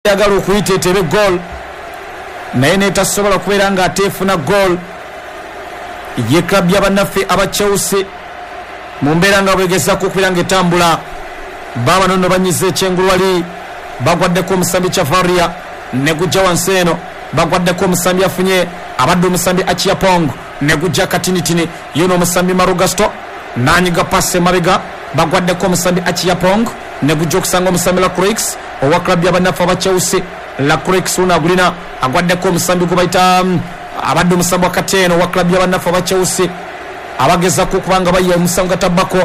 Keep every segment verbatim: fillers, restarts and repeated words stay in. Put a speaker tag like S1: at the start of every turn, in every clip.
S1: Yagala okuyita etebe goal, naye netasobola kubeera nga ate efuna goal. Ye club y'abannaffe aba Chelsea mu mbeera nga bwegezaako okubeera nga etambula. Baabano nno banyize ekyengulu wali, bagwaddeko omusambi Chavaria ne gujja wansi eno, bagwaddeko omusambi afunye abadde omusambi Achiapong ne gujja katinitini, ye n'omusambi Marugasto n'anyiga pasi emabega, bagwaddeko omusambi Achiapong ne gujja okusanga omusambi Lacroix owa club y'abannaffe aba Chelsea. Lacroix ono agulina, agwaddeko omusambi gwe bayita abadde omusambi wakati eno owa club y'abannaffe aba Chelsea, abagezaako okuba nga bayiya omusango gatabbako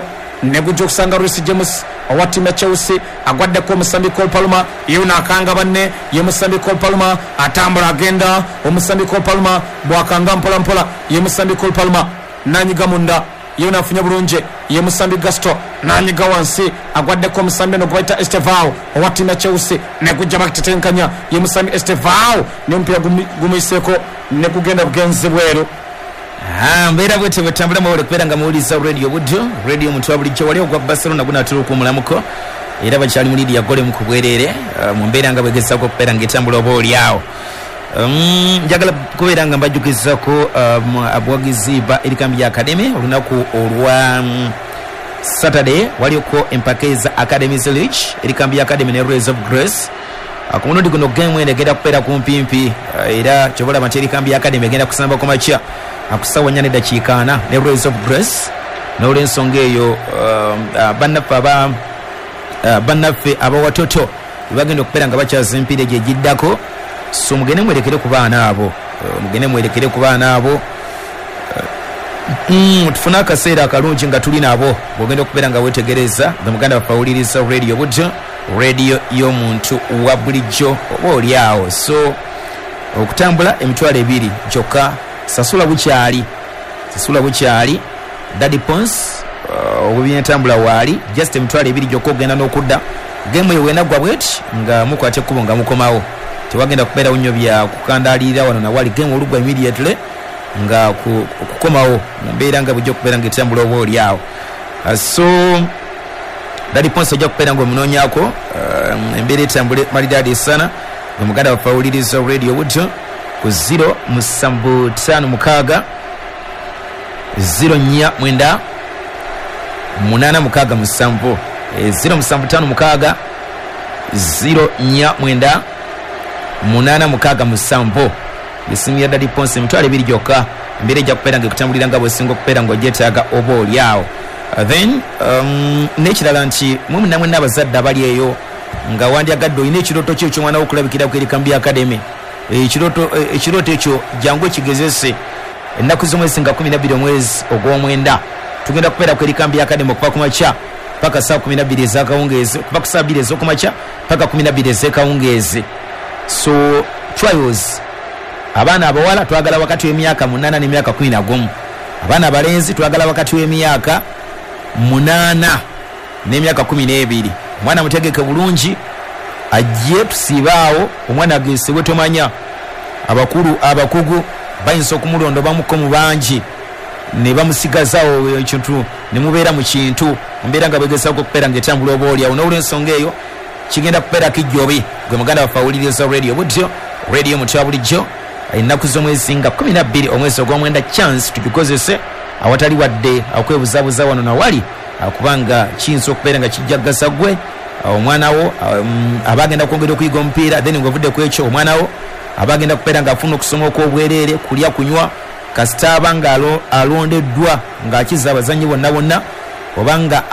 S1: ne gujja okusanga Reece James owa ttiimu ya Chelsea, agwaddeko omusambi Cole Palmer, ye ono akanga banne, ye musambi Cole Palmer atambula agenda, omusambi Cole Palmer bw'akanga mpola mpola, ye musambi Cole Palmer n'anyiga munda, ye ono afunye bulungi, ye musambi Gasto n'anyiga wansi, agwaddeko omusambi ono gwe bayita Estevao owa ttiimu ya Chelsea, ne gujja batetenkanya, ye musambi Estevao n'omupiira gumuyiseeko ne gugenda bugenzi bweru.
S2: Mbeera bwete bwetambula mwewale kubeera nga muwuliriza Radio Buddo, radio omuntu wa bulijjo. Wali ogwa Barcelona gunaatera okuwummulamuko, era bakyali mu liidi ya gole mu ku bwereere mu mbeera nga bwegezaako okubeera ng'etambula oba oli awo. Njagala kubeera nga mbajjukizaako abawagizi ba Erikambi ya Academy olunaku olwa Saturday waliko empaka eza Academies League, Erikambi ya Academy ne Rays of Grace. Ku mulundi guno game eno egenda kubeera kumpimpi, era kyobalaba nti Erikambi ya Academy egenda kusamba ku makya akusawa nnya n'eddakiika ana ne Rays of Grace. N'olwensonga eyo bannaffe aba bannaffe abawatoto bagenda okubeera nga bakyaza emipiira egyo egiddako. So mugende mwerekere ku baana abo, mugende mwerekere ku baana abo, tufune akaseera akalungi nga tuli nabo. Bw'ogenda okubeera nga weetegereza nga muganda waffe awuliriza Radio Buddo, radio y'omuntu wa bulijjo oba oli awo. So okutambula emitwalo ebiri gyokka, sasula bukyali, sasula bukyali. Daddy Pons obw'ebyentambula waali just emitwalo ebiri gyokka ogenda n'okudda. Game eyo wenaggwa bweti nga mukwata ekkubo nga mukomawo, tewagenda kubeerawo nnyo bya kukandaalirira wano na wali. Game oluggwa immediately nga okukomawo mu mbeera nga bujja okubeera nga etambula oba oli awo. So Daddy Pons ojja kubeera nga omunoonyaako embeera etambule malidaadi sana. Nga muganda waffe awuliriza Radio Buddo ku zero musanvu ttaano mukaaga zero nnya mwenda munaana mukaaga musanvu, zero musanvu ttaano mukaaga zero nnya mwenda munaana mukaaga musanvu. Esimu ya Daddy Pons emitwalo ebiri gyokka, embeera ejja kubeera nga ekutambulira nga bw'osinga okubeera ng'ogyetaaga oba oli awo. Then um, n'ekirala nti mwe mwenna mwenna abazadde abali eyo nga wandyagadde olina ekirooto kyo eky'omwana wo okulabikira ku Erikambi Academy, ekirooto ekirooto ekyo jangu ekigezese. Ennaku z'omwezi nga kumi na bbiri omwezi ogw'omwenda tugenda kubeera ku Erikambi Academy okuva ku makya paka saa kumi na bbiri ez'akawungeezi, okuva ku saa bbiri ez'okumakya paka kumi na bbiri ez'ekawungeezi. So trials, abaana abawala twagala wakati w'emyaka munaana n'emyaka kumi na gumu, abaana abalenzi twagala wakati w'emyaka munaana n'emyaka kumi n'ebiri. Omwana mutegeke bulungi ajje tusiibaawo, omwana agesebwe tomanya. Abakulu abakugu bayinza okumulonda bamuko mu bangi ne bamusigazaawo ekintu ne mubeera mu kintu mbeera nga bwegezaako okubeera ng'etambula oba oli awo. N'olwensonga eyo kigenda kubeera kijjobi gwe muganda waffe awuliriza Radio Buddo, radio omuntu wa bulijjo. Ennaku z'omwezi nga kumi na bbiri omwezi ogw'omwenda, chance tugikozese awatali wadde okwebuzabuza wano nawali, kubanga kiyinza okubeera nga kijja kugasa ggwe omwana wo aba agenda kwongera okuyiga omupiira, then ng'ovudde ku ekyo omwana wo aba agenda kubeera ng'afuna okusoma okw'obwereere, kulya kunywa, kasita aba nga alondeddwa ng'akiza abazannyi bonna bonna, oba nga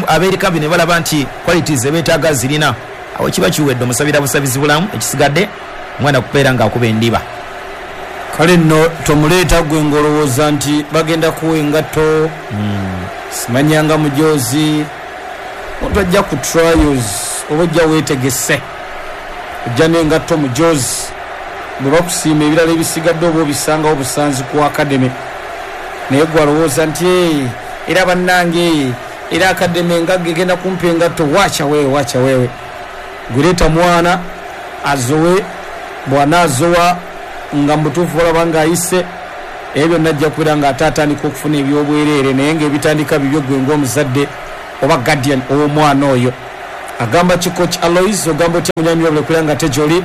S2: abeerikambi ne balaba nti qualities ebeetaaga zirina, awo kiba kiwedde omusabira busabizi bulamu, ekisigadde omwana kubeera ng'akuba endiba.
S1: Kale nno tomuleeta gwe ng'olowooza nti bagenda kuwa engatto, simanyanga mujoozi, omuntu ajja ku trials oba ojja weetegese, ojja n'engatto mujoozi, bwe bakusiima ebirala ebisigadde oba obisangawo busanzi ku academy. Naye gwe alowooza nti era bannange era academy engagga egenda kumpa engatto, wacha wewe wacha wewe. Gwe mwana azowe, bw'anaazowa nga mutuufu balaba ng'ayise, ebyo byonna ajja kubeera ng'ate atandika okufuna ebyobwereere, naye ng'ebitandika bibyo gwe ng'omuzadde oba guardian ow'omwana oyo. Agamba ki coach Alois, ogamba otya munyami wabule kulanga ate gy'oli,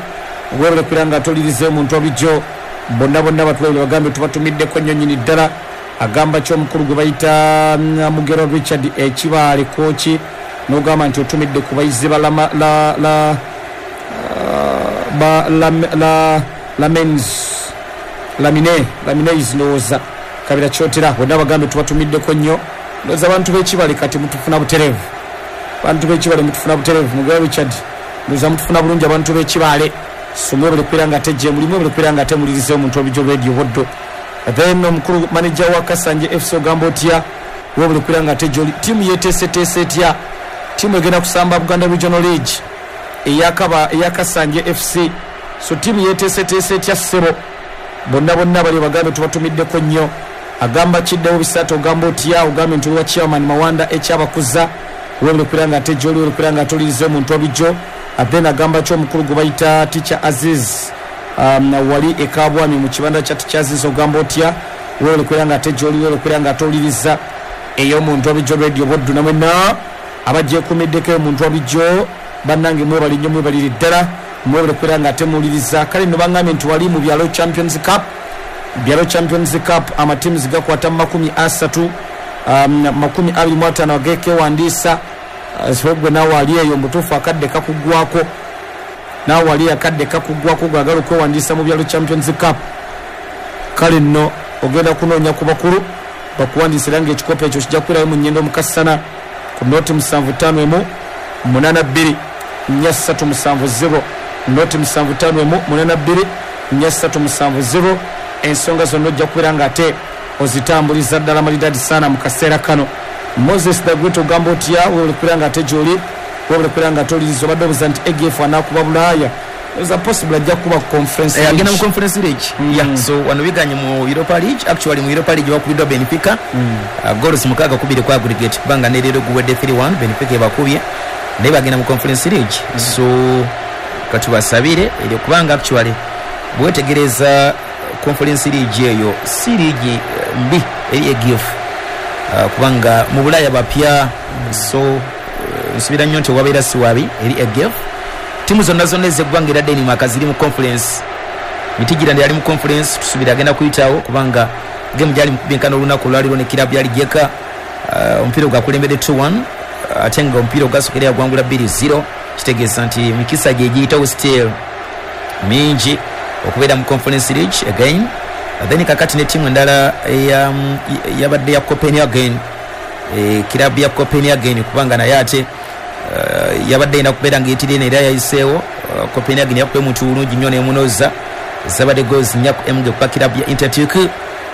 S1: webale kulanga ate olirize omuntu wabulijjo, bonna bonna batulabire bagambe tubatumiddeko nnyo nnyini ddala. Agamba ki omukulu gwe bayita Mugero Richard Ekibaale kochi, n'ogamba nti otumidde ku bayizi ba la la la ba la la lamens lamine lamines ndowooza Kabira Kyotera, bonna bagambe tubatumiddeko nnyo. Ndowooza abantu b'Ekibale kati mutufuna butereevu, abantu b'Ekibale mutufuna butereevu. Mugero Richard ndowooza mutufuna bulungi abantu b'Ekibale. So mwebale kubeera nga ate gye muli, mwebale kubeera nga ate mulirize omuntu wabulijjo radio Buddo. Then omukulu manager wa Kasanje F C ogamba otya, webale kubeera nga ate gy'oli. Ttiimu yeeteeseteese etya? Ttiimu egenda kusamba Buganda Regional League eyakaba eya Kasanje F C. So ttiimu yeeteeseteese etya ssebo? Bonna bonna bali bagambe tubatumiddeko nnyo. Agamba kiddewo bisatu, ogamba otya, ogambe nti oli wa chairman Mawanda ekyabakuza, webale kubeera nga ate gy'oli, webale kubeera nga ate olirize omuntu wabulijjo. Then agamba ki omukulu gwe bayita Teacher Aziz, um, wali e Kabwami mu kibanda kya Teacher Aziz, ogamba otya, webale kubeera nga ate gy'oli, webale kubeera nga ate oliriza ey'omuntu wabulijjo radio Buddu. Na mwenna abagyekuumiddeko omuntu wabulijjo bannange mwebale nnyo, mwebalire ddala, mwebale kubeera nga ate muwuliriza. Kale nno baŋŋambye nti wali mu byalo Champions Cup, byalo Champions Cup amatiimu gakwata mu makumi asatu, um, makumi abiri mu ataano ageekewandiisa. Uh, gwe naawe ali eyo mutuufu akadde kakuggwako, naawe ali akadde kakuggwako gwagala okwewandiisa mu byalo Champions Cup. Kale nno ogenda kunoonya ku bakulu bakuwandiisa, era ng'ekikopo ekyo kijja kubeerayo mu nnyendo mu Kasana ku noti musanvu ttaano emu munaana bbiri nnya ssatu musanvu zero, noti musanvu ttaano emu munaana bbiri nnya ssatu musanvu zero. Ensonga zonna ojja kubeera ng'ate ozitambuliza ddala malidadi sana mu kaseera kano. Moses the Great ogamba otya, webale kubeera nga ate gy'oli, webale kubeera nga ate oliriza. Obadde obuuza nti A G F anaakuba Bulaaya, is a possible ajja kuba Conference
S2: League, agenda mu Conference League. Yeah, so wano biganye mu Europa League, actually mu Europa League bakubiddwa Benfica mm. uh, goals mukaaga kubiri kwa aggregate, kubanga ne leero guwedde three one Benfica ebakubye, naye bagenda mu Conference League. mm. So katubasabire eryo, kubanga actually bwetegereza Conference League eyo si league mbi eri A G F, uh, kubanga mu Bulaya bapya. mm. So uh, nsubira nnyo nti wabeera si wabi eri A G F. Timu zonna zonna ez'eggwanga erya Denmark ziri mu conference, Midtjylland yali mu conference, tusubira agenda kuyitawo kubanga game gyali mukubinkana olunaku olwaliro ne kirabu yali Jeka. uh, omupiira gwakulembedde two one, uh, ate nga omupiira ogwasooka yagwangula bbiri zero, kitegeeza nti emikisa gye giyitawo still mingi okubeera mu Conference League again. Then kakati ne timu endala yabadde ya Copenhagen, e, kirabu ya Copenhagen, kubanga naye ate uh, yabadde erina kubeera ng'eyitirira era yayiseewo. uh, Copenhagen yakubye omuntu bulungi nnyo n'emunoza, zabadde goals nnya ku emu kuba kirabu ya Interturk.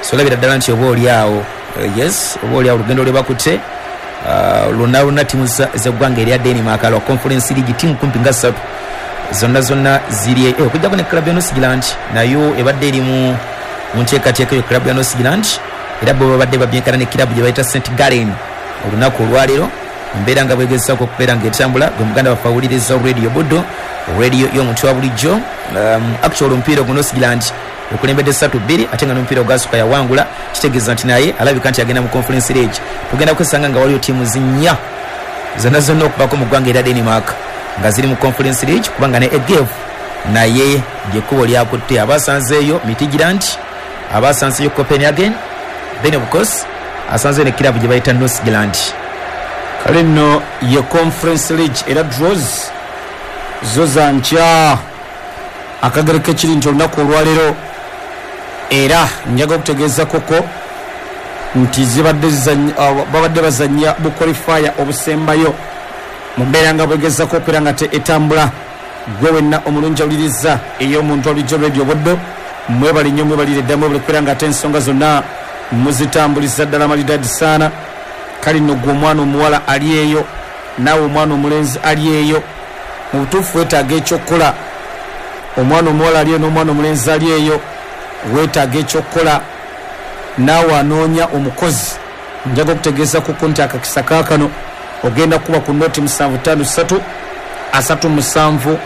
S2: So olabira ddala nti oba oli awo, uh, yes, oba oli awo olugendo lwe bakutte uh, lwonna lwonna timu z'eggwanga erya Denmark lwa Conference League, timu kumpi nga ssatu zonna zonna ziri eh, okujjako ne club ya Nordsjælland nayo ebadde eri mu nteekateeka eyo club ya Nordsjælland, era bo babadde babyenkana ne club gye bayita Saint Gallen olunaku olwaleero. Embeera nga bwegezaako okubeera ng'etambula. Gwe muganda waffe awuliriza radio Buddo, radio y'omuntu wa bulijjo. um, actually omupiira ogwo Nordsjælland okulembedde ssatu bbiri, ate nga n'omupiira ogwasooka yawangula, kitegeeza nti naye alabika nti agenda mu Conference League. Tugenda kwesanga nga waliwo ttiimu zinnya zonna zonna okubako mu ggwanga erya Denmark nga ziri mu Conference League, kubanga ne A G F naye lyekkubo lyakutte. Abasanzeeyo Midtjylland, abasanzeeyo Copenhagen, then of course asanzeeyo ne kirabu gye bayita Nordsjælland.
S1: Kale nno ye Conference League era draws zo za nkya. Akagere kekiri nti olunaku olwaleero era njaga okutegeeza koko nti zibadde uh, babadde bazannya bu qualifier obusembayo mu mbeera nga bwegezako okubeera nga te etambula. Gwe wenna omulungi awuliriza ey'omuntu wabulijjo radio Buddo, mwebale nnyo, mwebalire ddala, mwebale kubeera nga ate ensonga zonna muzitambuliza ddala malidadi sana. Kale nno gwe omwana omuwala ali eyo, naawe omwana omulenzi ali eyo, mu butuufu weetaaga ekyokukola. Omwana omuwala ali eyo n'omwana omulenzi ali eyo, weetaaga ekyokukola. Naawe anoonya omukozi, njaga okutegeeza kuko nti akakisa kaakano ogenda kuba ku noti musanvu ttaano ssatu asatu musanvu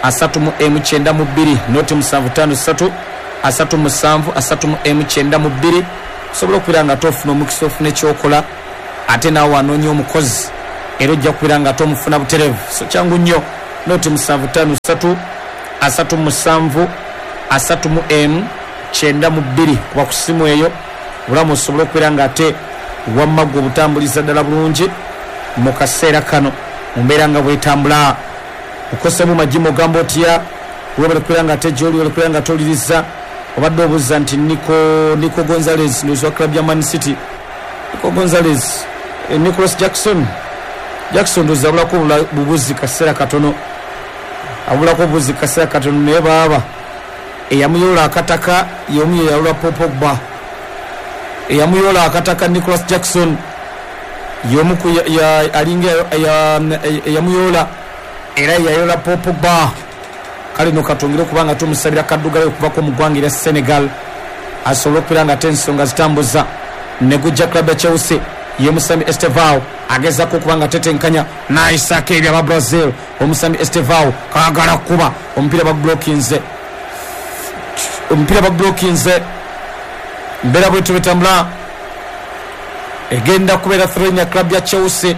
S1: asatu mu emu kyenda mu bbiri, noti musanvu ttaano ssatu asatu musanvu asatu mu emu kyenda mu bbiri, osobola okubeera nga tofuna omukisa ofuna ekyokola. Ate naawe anoonya omukozi, Era ojja kubeera nga tomufuna butereevu. So kyangu nnyo, noti musanvu ttaano ssatu asatu musanvu asatu mu emu kyenda mu bbiri, kuba ku ssimu eyo obulamu osobole okubeera nga ate wamma gwe obutambuliza ddala bulungi mu kaseera kano mu mbeera nga bwetambula. Okosemu majimu ogamba otya, webale kubeera nga ate gy'oli, webale kubeera nga toliriza. Obadde obuuza nti Nico, Nico Gonzalez ndozi wa club ya Man City. Nico Gonzalez, eh, Nicholas Jackson Jackson ndozi abulako bubuzi kaseera katono, abulako bubuzi kaseera katono, naye baaba eyamuyola akataka y'omu yeyawula Paul Pogba. Eyamuyola akataka Nicholas Jackson y'omu ku alinga eyamuyola era yayola Paul Pogba. Kale no katongere kubanga tumusabira kaddugala okuvako mu ggwanga erya Senegal asobole okubeera nga ate ensonga zitambuza. Negujja club ya Chelsea y'omusambi Estevao agezaako okuba nga tetenkanya n'ayisaako eri aba Brazil. Omusambi Estevao kaagala kuba omupiira bagublockinze, omupiira bagublockinze. Mbeera bwetyo betambula, egenda kubeera throw ya club ya Chelsea.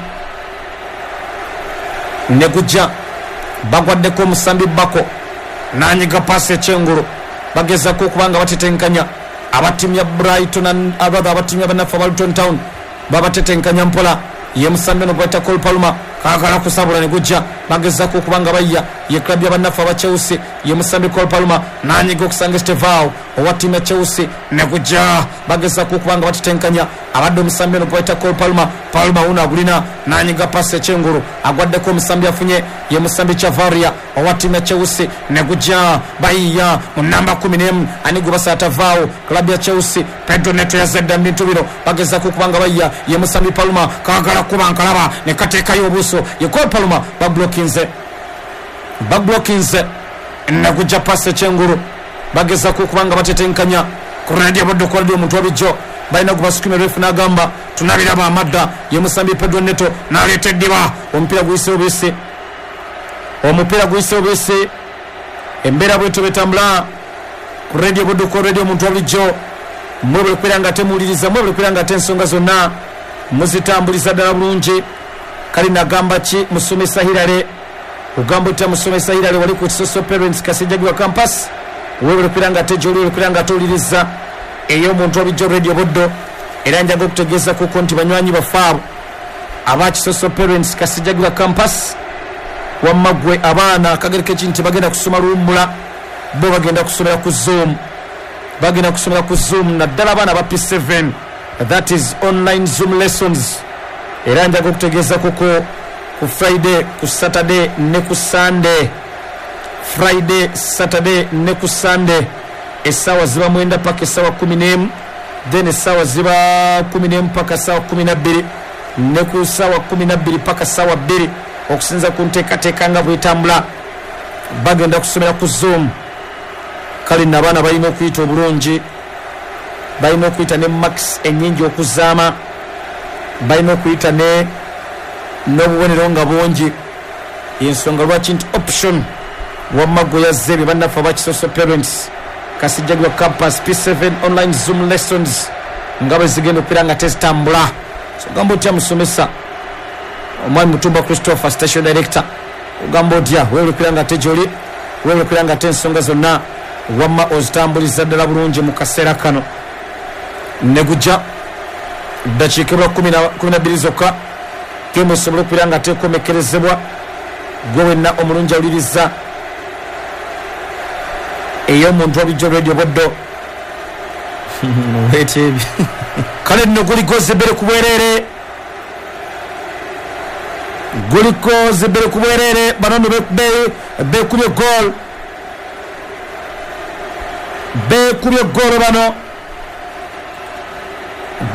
S1: Negujja bagwaddeko omusambi Bako nanyiga paasi ekyengulu, bagezaako okuba nga batetenkanya abattiimu ya Brighton, abatha abattiimu ya bannaffe aba Luton Town babatetenkanya mpola. Ye musambi ono gwayita Cole Palmer kaagala kusabula ne gujja, bagezaako okuba nga bayya. Ye club ya bannaffe aba Chelsea, ye musambi Cole Palmer nanyiga okusanga Estevao owa ttiimu ya Chelsea ne gujja, bagezaako okuba nga batetenkanya abadde omusambi ono gwayita Cole Palmer. Palmer wuno agulina nanyiga paasi ekyengulu, agwaddeko omusambi afunye ye musambi Chavaria owa ttiimu ya Chelsea ne gujja, bayiya mu namba kumi n'emu ani gwe basaatavaawo club ya Chelsea. Pedro Neto yazadde mu bintu bino, bagezaako okuba nga bayiya. Ye musambi Palmer kaagala kuba nkalaba ne kateekayo obuuso. Ye Cole Palmer bablokinze, bablokinze ne gujja paasi ekyengulu, bagezaako okuba nga batetenkanya. Ku radio budde ku radio omuntu wabijjo balina gwe basukuma refu n'agamba tunabiraba amadda. Ye musambi Pedro Neto n'aleeta eddiba, omupiira guyisewo buyise, omupiira guyisewo buyise. Embeera bwetyo betambula ku radio budde ku radio omuntu wabulijjo. Mwebale kubeera nga temuwuliriza, mwebale kubeera nga ate ensonga zonna muzitambuliza ddala bulungi. Kale nagamba ki musomesa Hirale, ogamba otya musomesa Hirale wali ku Social Parents Kasijjagirwa Campus, webale kubeera nga ate gy'oli, webale kubeera nga ate ey'omuntu wabijjo radio buddo. Era njaga okutegeeza kuko nti banywanyi baffe abo aba Kisoso Parents Kasijjagirwa Campus, wamma ggwe abaana akagereka eki nti bagenda kusoma luwummula, bo bagenda kusomera ku Zoom, bagenda kusomera ku Zoom, naddala abaana aba P seven, that is online Zoom lessons. Era njaga okutegeeza kuko ku Friday, ku Saturday ne ku Sunday, Friday, Saturday ne ku Sunday essaawa ziba mwenda paka essaawa kumi n'emu, then essaawa ziba kumi n'emu paka essaawa kumi na bbiri, ne ku ssaawa kumi na bbiri paka ssaawa bbiri, okusinza ku nteekateeka nga bwetambula bagenda kusomera ku Zoom. Kale nno abaana balina okuyita obulungi, balina okuyita ne marks ennyingi okuzaama, balina okuyita ne n'obubonero nga bungi. Ensonga lwaki nti option wamma gwe yazze bye bannaffe aba Kisoso Parents Kasijjagirwa Campus P seven online Zoom lessons nga bwe zigenda okubeera nga tezitambula. So ogamba otya musomesa omwami Mutumba Christopher, station director, ogamba otya weebale okubeera nga ate gy'oli, weebale okubeera nga ate ensonga zonna wamma ozitambuliza ddala bulungi mu kaseera kano. Ne gujja ddakiika ebula kumi na bbiri zokka gemu esobole okubeera nga tekomekerezebwa. Gwe wenna omulungi awuliriza ey'omuntu wabijjo radio buddo. Kale nno guliko zibiri ku bwereere, guliko zibiri ku bwereere. Bano nno beekubye goal, beekubye goolo bano.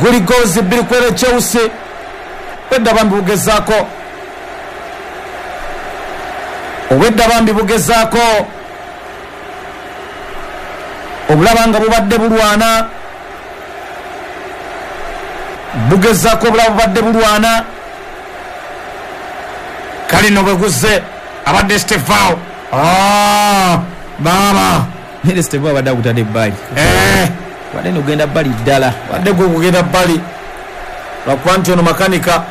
S1: Guliko zibiri ku bwereere Chelsea obwedda bambi bugezaako, obwedda bambi bugezaako obulaba nga bubadde bulwana, bugezaako obulaba bubadde bulwana. Kale nno bwe guzze abadde Estevao. Ah, baaba
S2: Nere Estevao abadde agutadde ebbali,
S1: eh,
S2: badde nogenda bbali ddala,
S1: badde gwe gugenda bbali lwakuba nti ono makanika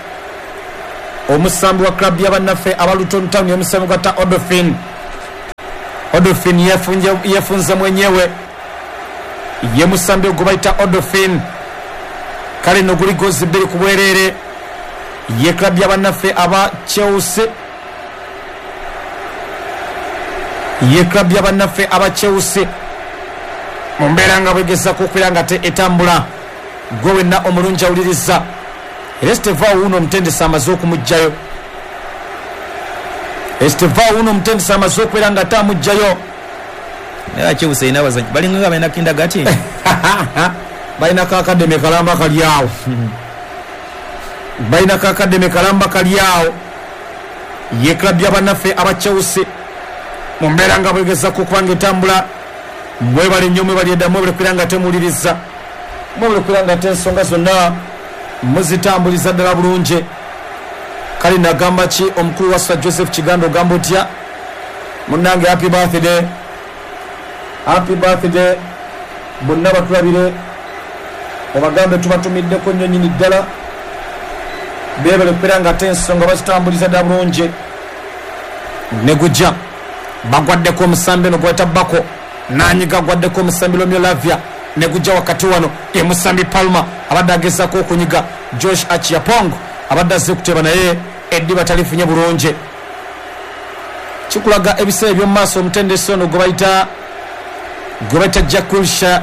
S1: Omusambi wa club y'abannaffe aba Luton Town omusambi gwa Odofin. Odofin yefunje yefunze mwenyewe. Ye musambi gwe bayita Odofin. Kale no guli gozi bbiri ku bwerere. Ye club y'abannaffe aba Chelsea. Ye club y'abannaffe aba Chelsea. Mu mbeera nga bwegezako okubeera nga te etambula. Gwe wenna omulungi awuliriza. Estevao uno omutendesi amaze okumuggyayo. Estevao uno omutendesi amaze okubeera nga ate amuggyayo.
S2: Naye Chelsea erina abazannyi balinga nga balina kindagati.
S1: Balina ka academy kalamba kali awo. Balina ka academy kalamba kali awo. Ye club y'abannaffe aba Chelsea. Mu mbeera nga bwegezako okuba nga etambula. Mwebale nnyo, mwebale dda, mwebale kubeera nga temuwuliriza. Mwebale kubeera nga ate ensonga zonna muzitambuliza ddala bulungi. Kale nagamba ki omukulu wa Sir Joseph Kiganda, ogamba otya munnange? Happy birthday, happy birthday. Bonna batulabire, obagambe tubatumiddeko nnyo nnyini ddala. Beebale kubeera nga ate ensonga bazitambuliza ddala bulungi. Ne gujja bagwaddeko omusambi eno gwayita Bako, nanyiga gwaddeko omusambi Romeo Lavia. Ne gujja wakati wano ye musambi Palma abadde agezaako okunyiga Josh Achiapong abadde azze kuteeba naye eddiba talifunye bulungi. Kikulaga ebiseera eby'omu maaso omutendesi ono gwe bayita gwe bayita Jack Wilshere.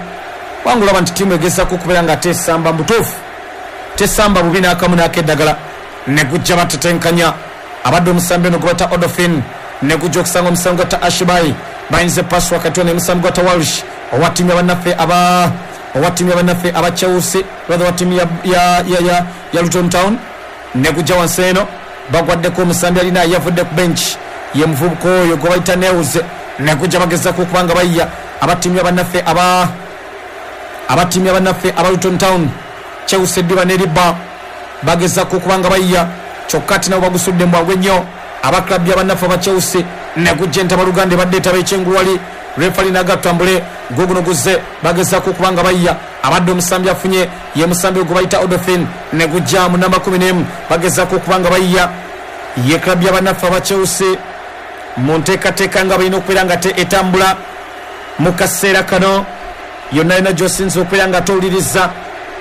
S1: Wangulaba nti ttiimu egezaako okubeera nga tesamba mutuufu, tesamba bubi n'akamu n'akeddagala. Ne gujja batetenkanya abadde omusambi ono gwe bayita Odofin. Ne gujja okusanga omusambi gwa Ashibai. Bayinze pasi wakati wano omusambi gwa Walsh owa ttiimu y'abannaffe aba owa ttiimu y'abannaffe aba Chelsea, rather owa ttiimu ya, ya, ya, ya, ya Luton Town. Ne gujja wansi eno bagwaddeko omusambi alina yavudde ku bench ye muvubuka oyo gwe bayita News. Ne gujja bagezaako okuba nga bayiya aba ttiimu y'abannaffe aba aba ttiimu y'abannaffe aba Luton Town. Chelsea eddiba n'eribba bagezaako okuba nga bayiya, kyokka ate nabo bagusudde mu bwangu ennyo aba club y'abannaffe aba Chelsea. Ne gujja entabaluganda ebadde etaba ekyenguwali. Refali n'agatambule guguno guzze bagezaako okuba nga bayiya. Abadde omusambi afunye ye musambi gwe bayita Odofin. Ne gujja mu namba kumi n'emu bagezaako okuba nga bayiya. Ye club y'abannaffe aba Chelsea mu nteekateeka nga balina okubeera nga te etambula mu kaseera kano. Yonna yonna gy'osinza okubeera nga towuliriza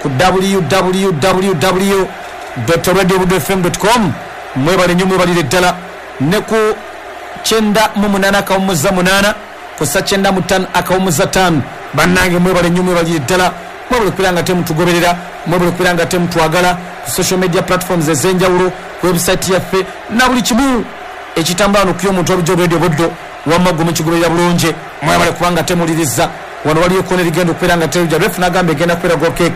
S1: ku w w w dot radio buddu f m dot com. Mwebale nnyo, mwebalire ddala. Ne ku kyenda mu munaana akawummuza munaana kussa kyenda mu ttaano akawummuza ttaano. Bannange mwebale nnyo, mwebalire ddala. Mwebale okubeera nga temutugoberera, mwebale okubeera nga temutwagala ku social media platforms ez'enjawulo, ku website yaffe na buli kimu ekitambula wano ku y'omuntu olujja Radio Buddu. Wamma gwe mukigoberera bulungi, mwebale kubanga temuwuliriza. Wano waliyo kona erigenda okubeera nga terujja. Ref n'agamba egenda kubeera goal kick.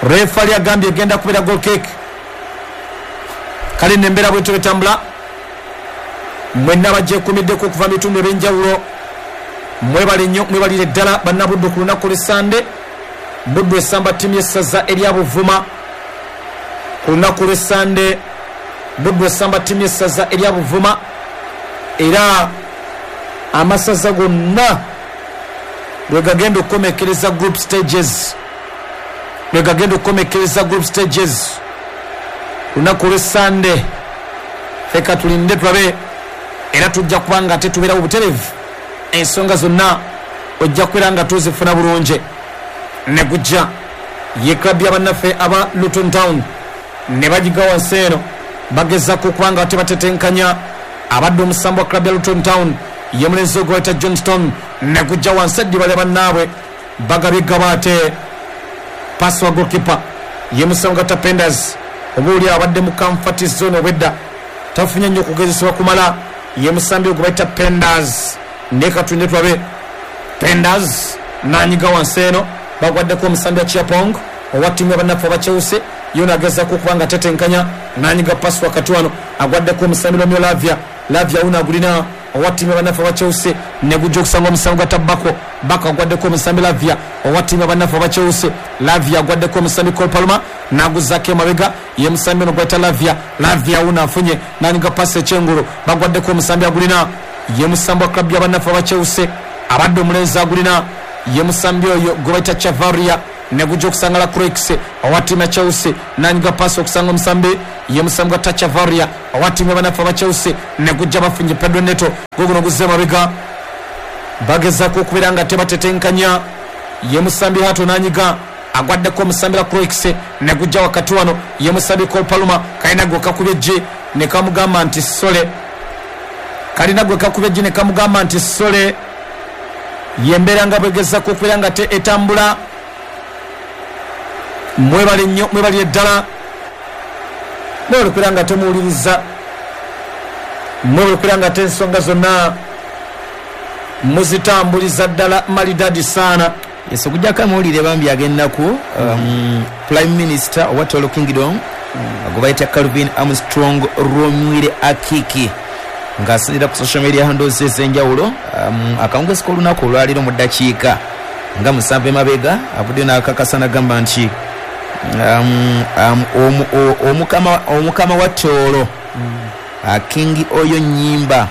S1: Ref ali agambye egenda kubeera goal kick. Kale nembeera bwetyo betambula. Mwenna bagyekuumiddeko okuva mu bitundu ebyenjawulo. Mwebale nnyo, mwebalire ddala bannabuddu ku lunaku lw'Essande. Buddu esamba ttiimu y'essaza erya Buvuma ku lunaku lw'Essande. Buddu esamba ttiimu y'essaza erya Buvuma, era amasaza gonna lwe gagenda okukomekkereza group stages, lwe gagenda okukomekkereza group stages lunaku lw'Essande. Feka tulinde tulabe, era tujja kuba nga tetubeerawo butereevu. Ensonga zonna ojja kubeera nga tuzifuna bulungi. Ne gujja ye club y'abannaffe aba Luton Town ne bagiga wansi eno bagezaako okuba nga tebatetenkanya. Abadde omusambi wa club ya Luton Town ye mulenzi ogwe bayita Johnston. Ne gujja wansi eddiba lya bannaabwe bagabye gabaate. Pasi wa goalkeeper ye musambi gwa Penders, oba oli abadde mu comfort zone obwedda tafunye nnyo okugezesebwa kumala. Ye musambi ogwe bayita Penders. Ne katunde tulabe Penders nanyiga wansi eno bagwaddeko omusambi wa Chiapong owa ttiimu y'abannaffe aba Chelsea. Yo nagezaako okuba nga tetenkanya, nanyiga pasi wakati wano agwaddeko omusambi Romeo Lavia. Lavia uno agulina owa ttiimu y'abannaffe aba Chelsea. Ne gujja okusanga omusambi gwa Tabako. Bako agwaddeko omusambi Lavia owa ttiimu y'abannaffe aba Chelsea. Lavia agwaddeko omusambi Cole Palmer n'aguzzaako emabega ye musambi ono gwayita Lavia. Lavia uno afunye nanyiga pasi ekyengulu bagwaddeko omusambi agulina ye musambi wa club y'abannaffe aba Chelsea. Abadde omulenzi agulina ye musambi oyo gwe bayita Chavaria. Negujja okusanga la Croix owa ttiimu ya Chelsea, nanyiga paasi okusanga omusambi ye musambi gwa Tachavaria owa ttiimu y'abanafu aba Chelsea. Negujja bafunye Pedro Neto, guguno guzze mabega, bagezaako okubeera nga tebatetenkanya. Ye musambi Hato nanyiga, agwaddeko omusambi la Croix. Negujja wakati wano ye musambi Cole Palmer, kalina gwe kakubye ejji ne kamugamba nti sole, kalina gwe kakubye ejji ne kamugamba nti sole. Yembeera nga bwegezaako okubeera nga te etambula. Mwebale nnyo, mwebale ddala, mwebale okubeera nga temuwuliriza, mwebale okubeera nga te ensonga zonna muzitambuliza ddala malidadi saana.
S2: Yes, okujjako amawulire bambi ag'ennaku, um, Prime Minister owa Tolo Kingdom mm. gwe bayita Calvin Armstrong Romwire Akiki ng'asinziira ku social media handles ez'enjawulo, um, akawungezi k'olunaku olwaleero mu ddakiika nga musanvu emabega avuddeyo n'akakasa n'agamba nti um, um, omukama, omukama wa Tooro mm. King Oyo Nyimba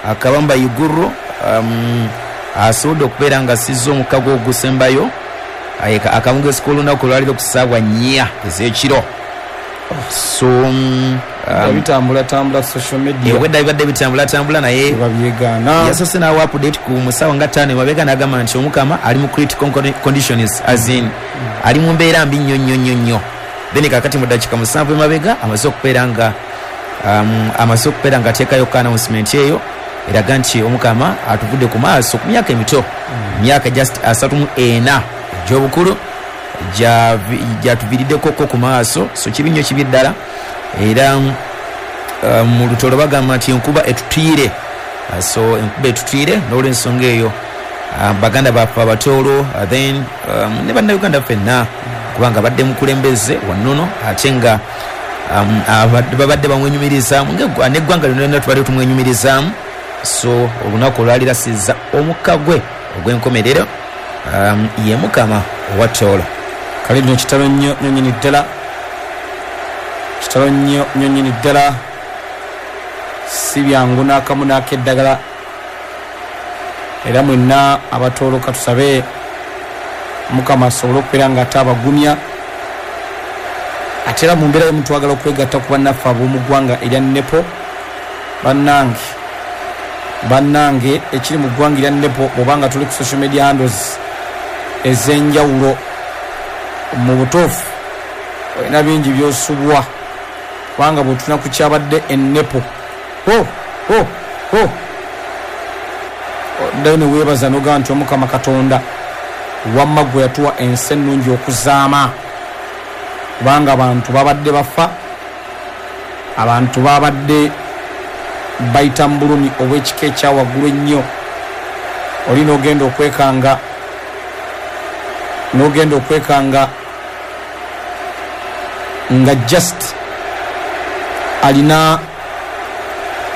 S2: Akabamba Iguru um, asobodde okubeera nga sizza omukago ogusembayo akawungezi k'olunaku olwaleero ku ssaawa nnya ez'ekiro. So um,
S1: bitambulatambula social media
S2: obwedda bibadde bitambulatambula, naye
S1: babyegaana.
S2: Yasoose n'awa update ku musawo nga ttaano emabega n'agamba nti omukama ali mu critical conditions, as in ali mu mbeera mbi nnyo nnyo nnyo nnyo. Then kakati mu ddakiika musanvu emabega amaze okubeera nga um, amaze okubeera nga ateekayo ka announcement eyo eraga nti omukama atuvudde ku maaso ku myaka emito, myaka just asatu mu ena egy'obukulu gyatuviiriddeko ko ku maaso. So kibi nnyo, kibi ddala. Era um, mu Lutolo bagamba nti enkuba etutiire. Uh, so enkuba etutiire n'olwensonga eyo uh, baganda baffe Abatoolo, uh, then um, ne bannayuganda ffenna, kubanga badde mukulembeze wannono ate nga um, babadde bamwenyumirizaamu n'eggwanga lyonna tubadde tumwenyumirizaamu. So olunaku olwaliro asizza omukka gwe ogw'enkomerero, um, ye mukama owa Tooro.
S1: Kale nno kitalo nnyo nnyo nnyini ddala, kitalo nnyo nnyo nnyini ddala, si byangu n'akamu n'akeddagala. Era mwenna Abatooro katusabe Mukama asobole okubeera nga ate abagumya. Ate era mu mbeera y'omuntu twagala okwegatta ku bannaffe ab'omu ggwanga erya Nepo. Bannange, bannange ekiri mu ggwanga erya Nepo, bw'obanga tuli ku social media handles ez'enjawulo, mu butuufu olina bingi by'osubwa, kubanga bw'otuna ku kyabadde e Nepo, o o o oddayo ne weebaza n'ogamba nti Omukama Katonda wamma gwe yatuwa ensi ennungi okuzaama, kubanga abantu babadde bafa, abantu babadde bayita mu bulumi obw'ekika ekya waggulu ennyo. Oli n'ogenda okwekanga, n'ogenda okwekanga nga just alina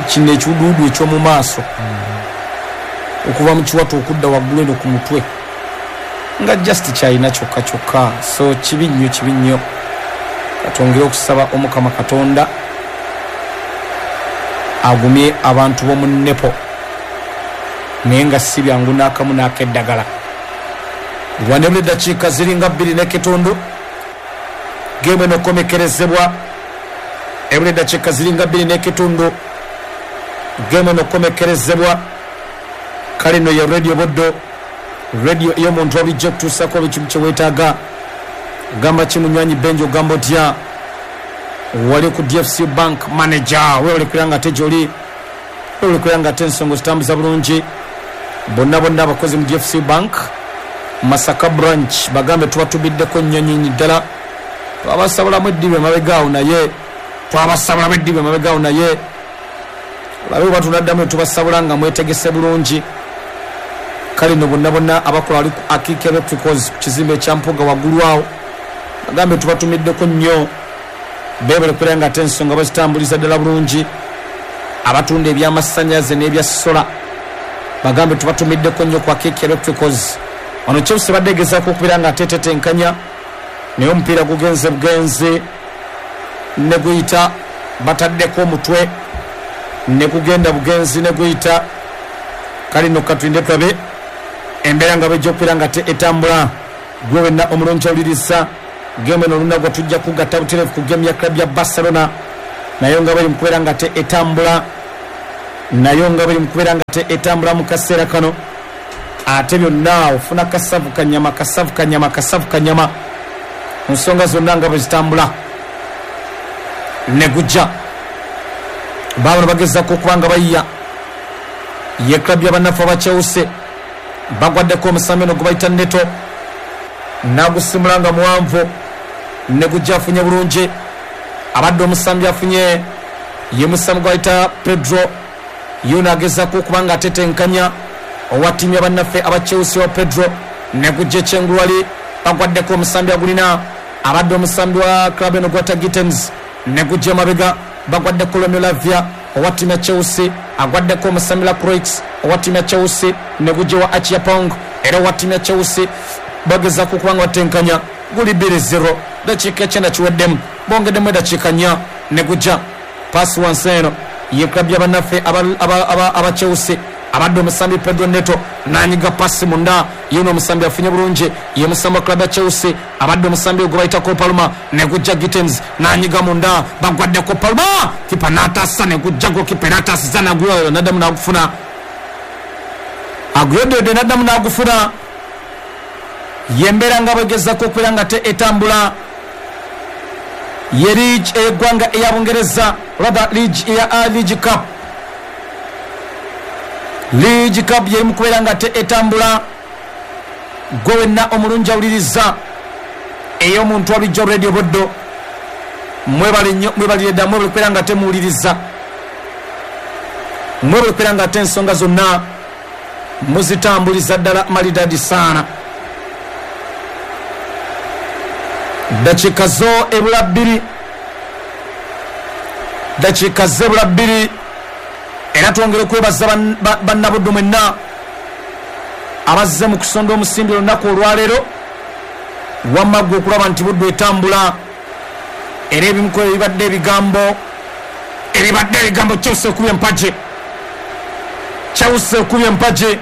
S1: kino ekiwuduwudu eky'omu maaso okuva mu kiwato okudda waggulu eno ku mutwe, nga just kyalina kyokka kyokka. So kibi nnyo, kibi nnyo. Katwongere okusaba Omukama Katonda agumye abantu b'omu Nepo, naye nga si byangu n'akamu n'akeddagala. Wanebula eddakiika ziringa bbiri n'ekitundu geemu eno okukomekerezebwa. Ebula eddakiika ziringa bbiri n'ekitundu geemu eno okukomekerezebwa. Kale nno ye Radio Buddo, radio ey'omuntu obulijjo okutuusako buli kimu kye weetaaga. Ogamba ki munywanyi Benjo, ogamba otya wali ku D F C Bank manager? Weewale kubeera nga ate gy'oli, weewale kubeera nga ate ensonga zitambuza bulungi. Bonna bonna abakozi mu D F C Bank Masaka branch bagambe tubatubiddeko nnyo nnyini ddala. Twabasabulamu eddibu emabega awo, naye twabasabulamu eddibu emabega awo, naye olabe oba tunaddamu ne tubasabula nga mwetegese bulungi. Kale nno bonna bonna abakola wali ku Akiki Electricals ku kizimbe ekya Mpuuga waggulu awo bagambe tubatumiddeko nnyo, beebale kubeera nga ate ensonga bazitambuliza ddala bulungi. Abatunda ebyamasannyalaze n'ebya sola bagambe tubatumiddeko nnyo ku Akiki Electricals. Wano Chelsea badde egezaako okubeera nga ate etetenkanya, naye omupiira gugenze bugenzi ne guyita, bataddeko omutwe ne gugenda bugenzi ne guyita. Kale nno katulinde tulabe embeera nga bwejja okubeera nga te etambula. Gwe wenna omulungi awuliriza gemu eno olunaku tujja kugatta butereevu ku gemu ya club ya Barcelona, nayo nga bali mu kubeera nga te etambula, nayo nga bali mu kubeera nga te etambula mu kaseera kano. Ate byonna ofuna kasavu kanyama, kasavu kanyama, kasavu kanyama, ensonga zonna nga bwe zitambula. Ne gujja baabano bagezaako okuba nga bayiya ye club y'abannaffe aba Chelsea, bagwaddeko omusambi ono gwe bayita Neto, n'agusimula nga muwanvu, ne gujja afunye bulungi. Abadde omusambi afunye ye musambi gwe bayita Pedro, ye n'agezaako okuba nga atetenkanya owa ttiimu y'abannaffe aba Chelsea wa Pedro, ne gujja ekyengulu wali bagwaddeko omusambi agulina abadde omusambi wa club eno gwata Gittens, ne gujja emabega bagwaddeko Romeo Lavia owa ttiimu ya Chelsea, agwaddeko omusambi Lacroix owa ttiimu ya Chelsea, ne gujja wa Achiapong era owa ttiimu ya Chelsea, bagezaako okuba nga batenkanya. Guli bbiri zero, dakiika ekyenda kiweddemu, bongeddemu eddakiika nnya. Ne gujja paasi wansi eno ye club y'abannaffe aba Chelsea, abadde omusambi Pedro Neto n'anyiga pasi munda, ye ono omusambi afunye bulungi, ye musambi wa club ya Chelsea, abadde omusambi gwe bayita Palmer, ne gujja Gittens n'anyiga munda, bagwaddeko Palmer, kipa n'ataasa, ne gujja gokipa n'ataasiza n'agulayo n'addamu n'agufuna, aguyoddeodde n'addamu n'agufuna. Yembeera nga bwegezaako okubeera nga te etambula. Ye liigi ey'eggwanga eya Bungereza, rather liigi eya League Cup, League Cup yeri mu kubeera nga te etambula. Gwe wenna omulungi awuliriza ey'omuntu walijjo Radio Buddo, mwebale nnyo, mwebalire ddala, mwebale kubeera nga temuwuliriza, mwebale kubeera nga ate ensonga zonna muzitambuliza ddala malidadi saana. Dakiika zo ebula bbiri, dakiika zo ebula bbiri, era twongere okwebaza bannabuddu mwenna abazze mu kusonda omusimbi olunaku olwaleero. Wamma ggwe okulaba nti Buddu etambula, era ebimu ku ebibadde ebigambo ebibadde ebigambo Chelsea ekubye empagi, Chelsea ekubye empagi,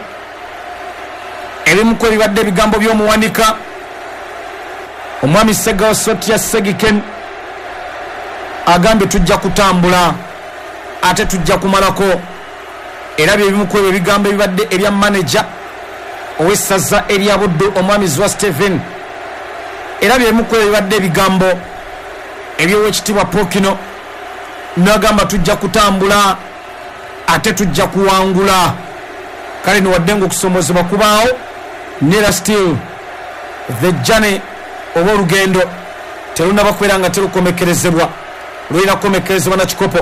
S1: ebimu ku ebibadde ebigambo by'omuwanika omwami Segawa Sotia Segiken agambye tujja kutambula ate tujja kumalako. Era bye bimu ku ebyo ebigambo ebibadde ebya manager ow'essaza erya Buddu omwami Zwa Steven, era bye bimu ku ebyo ebibadde ebigambo eby'owekitiibwa Pokino n'agamba tujja kutambula ate tujja kuwangula. Kale niwadde ng'okusomoozebwa kubaawo, nera still the journey oba olugendo terunnaba kubeera nga terukomekerezebwa, lulina kukomekerezebwa na kikopo.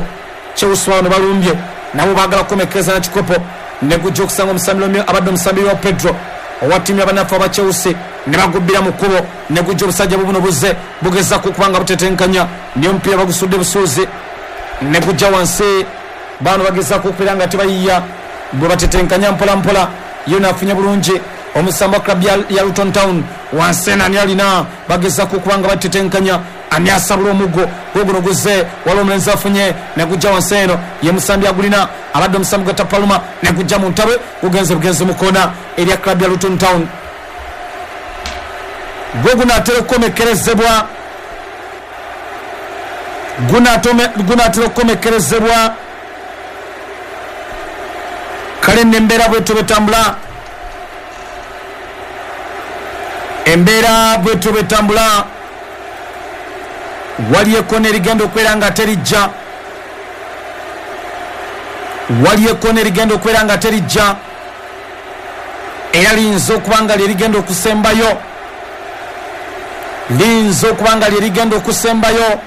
S1: Chelsea wano balumbye nabo baagala kukomekereza na kikopo, ne gujja okusanga omusambi Romeo abadde omusambi wa Pedro owa ttiimu y'abannaffe aba Chelsea, ne bagubbira mu kkubo, ne gujja obusajja bubuno buzze bugezaako okuba nga butetenkanya, naye omupiira bagusudde busuuzi, ne gujja wansi. Baano bagezaako okubeera nga tebayiya, bwe batetenkanya mpola mpola, ye naafunye bulungi omusambi wa club ya Luton Town wansi eno ani alina, bagezaako okuba nga batetenkanya, ani asabula omuggo guguno guzze, waliwo omulenzi afunye, ne gujja wansi eno ye musambi agulina abadde omusambi gwa Tapaluma, ne gujja mu ntabwe, gugenze bugenzi mu koona erya club ya Luton Town. Gwe gunaatera okukomekerezebwa, gunaatera okukomekerezebwa. Kale nno embeera bwetyo bwetambula, embeera bwetyo bwetambula. Waliyo ekkona erigenda okubeera nga terijja, waliyo ekkona erigenda okubeera nga terijja, era liyinza okuba nga lyerigenda okusembayo, liyinza okuba nga lyerigenda okusembayo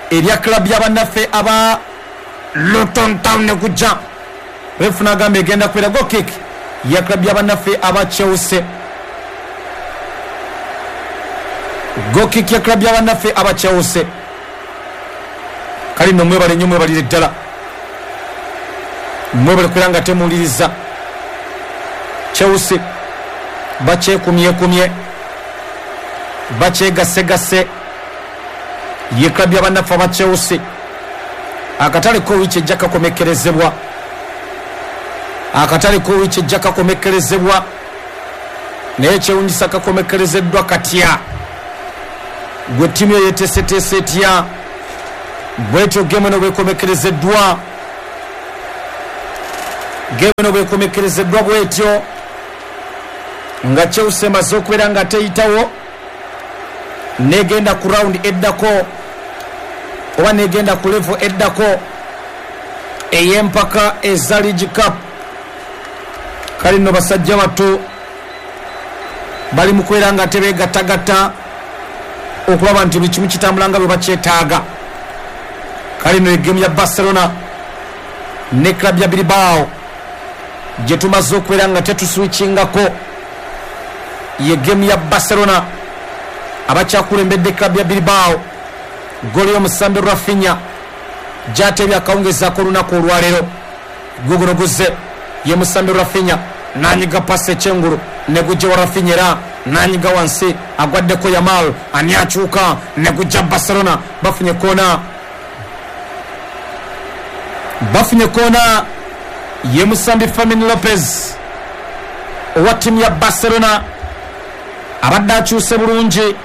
S1: erya club y'abannaffe aba Luton Town. Ne gujja refu n'agamba egenda kubeera goal kick ya club y'abannaffe aba Chelsea, goal kick ya club y'abannaffe aba Chelsea. Kale nno mwebale nnyo, mwebalire ddala, mwebale kubeera nga temuwuliriza. Chelsea bakyekumyekumye, bakyegasegase, ye club y'abannaffe aba Chelsea. Akatale ko wiiki ejja kakomekerezebwa, akatale ko wiiki ejja kakomekerezebwa. Naye kyewunyisa kakomekerezeddwa katya, gwe ttiimu eyo yeteeseteese etya? Bwetyo gemu eno bwekomekerezeddwa, gemu eno bwekomekerezeddwa bwetyo nga Chelsea emaze okubeera nga teyitawo negenda ku round eddako oba negenda ku level eddako ey'empaka eza League Cup. Kale nno basajja bato bali mu kubeera nga tebeegattagatta okulaba nti buli kimu kitambula nga bwe bakyetaaga. Kale nno egemu ya Barcelona ne club ya Bilbao gye tumaze okubeera nga tetuswikingako ye gemu ya Barcelona abakyakulembedde club ya Bilbao. Goli y'omusambi Rafinha gy'ateebye akawungezaako olunaku olwaleero. Guguno guzze ye musambi Rafinha nanyiga pasi ekyengulu ne gujja wa Rafinha era nanyiga wansi agwaddeko Yamal, ani akyuka ne gujja Barcelona. Bafunye koona, bafunye koona ye musambi Fermin Lopez owa ttiimu ya Barcelona abadde akyuse bulungi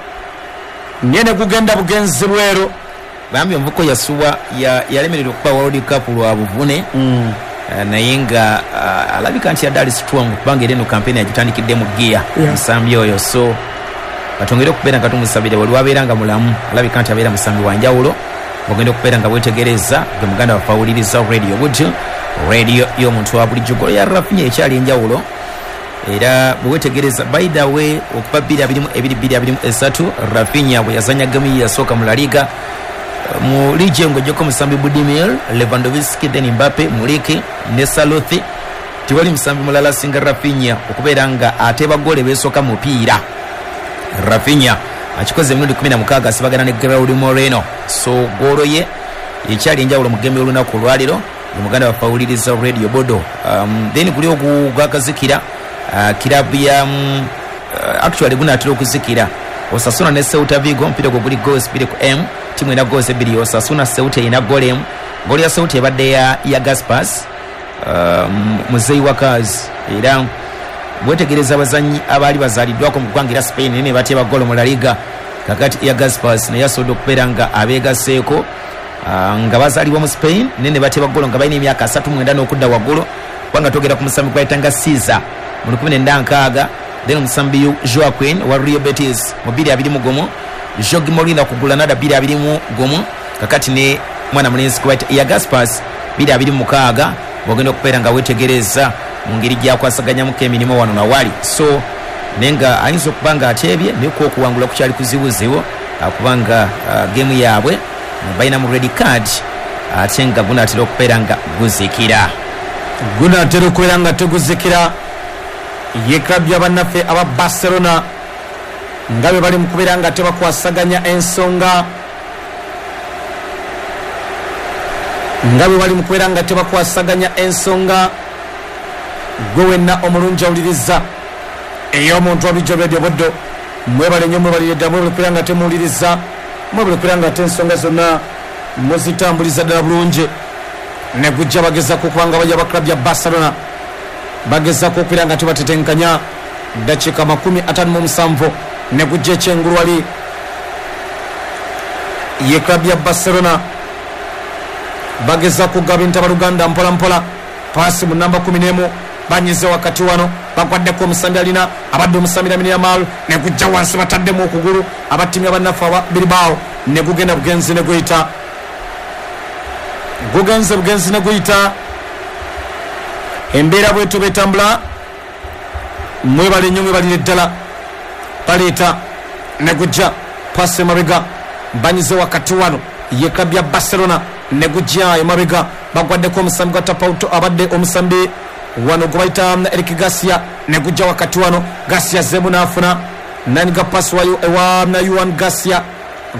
S1: naye ne gugenda bugenzi bweru.
S2: Bambi omuvuko yasuwa yalemererwa okuba World Cup lwa buvune mm. Naye nga uh, alabika nti yadde ali strong kubanga era eno campaign yagitandikidde mu gear musambi oyo, so batongere okubeera nga tumusabire wali wabeera nga mulamu, alabika nti abeera musambi wa njawulo. Ogenda okubeera nga wetegereza gwe muganda waffe awuliriza radio bujo radio y'omuntu wa bulijjo. Golo ya Rafinha ekyali enjawulo era bwewetegereza by the way okuba bbiri abiri mu ebiri bbiri abiri mu esatu Rafinha bwe yazanya gemu yasooka mu La Liga mu liigi ng'oggyeko musambi Budimir, Lewandowski, then Mbappe, Muliki ne Salothi, tewali musambi mulala asinga Rafinha okubeera nga ateeba ggoolo ebeesooka mu mupiira. Rafinha akikoze emirundi kumi na mukaaga asibagana ne Gerard Moreno, so ggoolo ye ekyali enjawulo mu gemu y'olunaku olwaleero. Muganda waffe awuliriza radio Bodo. Um, then guli ogwakazikira uh, kirabu ya um, uh, actually gunaatera okuzikira Osasuna ne Celta Vigo, omupiira ogwo guli goals bbiri ku M, ttiimu erina goals ebbiri, Osasuna Celta erina goal emu. Goolo ya Celta ebadde ya, ya Gaspars uh, muzeeyi wa Kaz, era bwetegereza abazannyi abaali bazaaliddwako mu ggwanga era Spain naye ne bateeba goolo mu La Liga. Kakati ya Gaspars naye asobodde okubeera nga abeegaseeko uh, nga bazaalibwa mu Spain naye ne bateeba goolo nga balina emyaka asatu mwenda n'okudda waggulu, kubanga twogera ku musambi gwayitanga Caesar mu lukumi nenda nkaaga, then omusambi Joaquin wa Real Betis mu bbiri abiri mu gumu, Jorge Molina ku Granada bbiri abiri mu gumu, kakati ne mwana mulenzi gwayita ya Gaspars bbiri abiri mu mukaaga. Bw'ogenda okubeera nga weetegereza mu ngeri gyakwasaganyamuko emirimu wano nawali, so naye nga ayinza okuba nga ateebye naye ku okuwangula kukyali kuzibuzibu kubanga uh, gemu yaabwe balina mu red card ate nga gunaatera okubeera nga guzikira,
S1: gunaatera okubeera nga teguzikira. Ye club ya bannaffe aba Barcelona nga bwe bali mu kubeera nga tebakwasaganya ensonga, nga bwe bali mu kubeera nga tebakwasaganya ensonga. Gwe wenna omulungi awuliriza ey'omuntu wabulijjo Radio Buddo, mwebale nnyo, mwebalire ddala, mwebale kubeera nga temuwuliriza, mwebale kubeera nga ate ensonga zonna muzitambuliza ddala bulungi. Ne gujja bagezaako okuba nga bajja ba club ya Barcelona bagezaako okubeera nga tebatetenkanya. Dakiika makumi ataano mu musanvu ne gujja ekyengulu wali ye club ya Barcelona bagezaako okugaba entabaluganda mpola mpola. Paasi mu namba kumi n'emu banyize wakati wano bagwaddeko omusambi alina abadde omusambi Lamine Yamal ne gujja wansi bataddemu okugulu abattiimya bannaffe aba Bilbao ne gugenda bugenzi ne guyita, gugenze bugenzi ne guyita. Embeera bwetyo betambula. Mwebale nnyo, mwebalire ddala. Baleeta ne gujja pasi emabega banyize wakati wano ye club ya Barcelona ne gujja emabega bagwaddeko omusambi gwa Tapauto abadde omusambi wano gwe bayita Eric Garcia ne gujja wakati wano Garcia zemu n'afuna nanyiga pasi wayo ewa Juan Garcia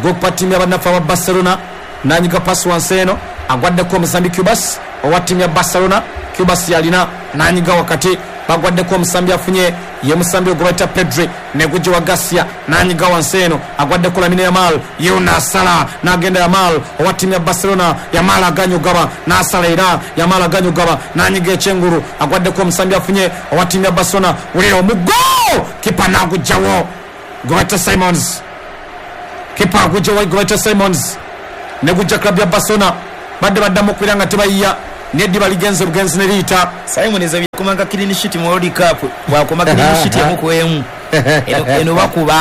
S1: gokupa ttiimu y'abannaffe aba Barcelona nanyiga pasi wansi eno agwaddeko omusambi Cubas owa ttiimu ya Barcelona. Cubas yalina nanyiga wakati bagwaddeko omusambi afunye ye musambi ogwe bayita Pedri ne gujja wa Garcia nanyiga wansi eno agwaddeko Lamine Yamal ye n'asala n'agenda Yamal owa ttiimu ya Barcelona. Yamal aganye ogaba n'asala era Yamal aganye ogaba nanyiga ekyengulu agwaddeko omusambi afunye owa ttiimu ya Barcelona. Wulira omuggo Kipa nagujjawo Gweta Simons, kipa agujjawo Gweta Simons negujja club ya Barcelona. Badde baddamu okubeera nga tebayiya, neddiba ligenze bugenzi ne liyita.
S2: Simon eza byakomanga clean sheet mu World Cup, bwakoma clean sheet emu ku emu eno bakuba